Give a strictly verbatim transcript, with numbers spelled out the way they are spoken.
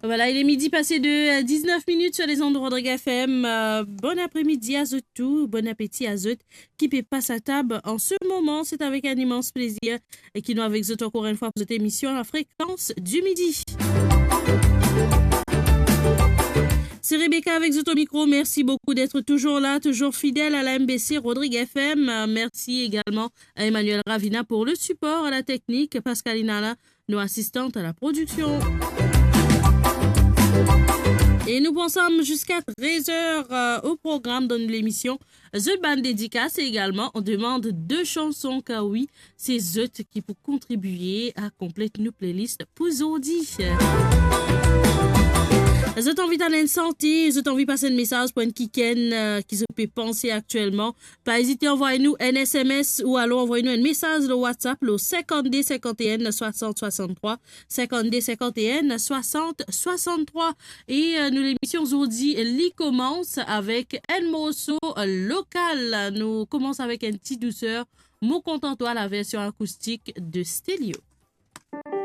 Voilà, il est midi passé de, euh, dix-neuf minutes sur les ondes de Rodrigue F M. Euh, bon après-midi à zot tou, bon apeti a zot ki pe pas atab an se moman. C'est avec un immense plaisir ki nou avek zot ankor enn fwa pou zot emisyon La Fréquence du Midi. C'est Rebecca avec zot au micro. Merci beaucoup d'être toujours là, toujours fidèle à la M B C Rodrigue F M. Euh, merci également à Emmanuel Ravina pour le support à la technique, Pascalina la, nos assistantes à la production. Et nous pensons jusqu'à treize heures, euh, au programme de l'émission. Zot bann dédicaces et également on demande deux chansons, car oui, c'est zot ki pou kontribue à compléter nos playlists pour zordi. Zot anvi tann enn sante, zot anvi pas enn mesaz pou enn kikenn, euh, ki zot pe panse aktielman, pa ezite anvoy nou enn S M S ou alor anvoy nou enn mesaz lor WhatsApp lor cinquante-deux cinquante et un soixante soixante-trois, cinquante-deux cinquante et un soixante soixante-trois. E, euh, nou, lemisyon zordi, li koumans avek enn morso, euh, lokal. Nou koumans avek enn ti douser, Mo kontan twa, la version acoustique de Stelio.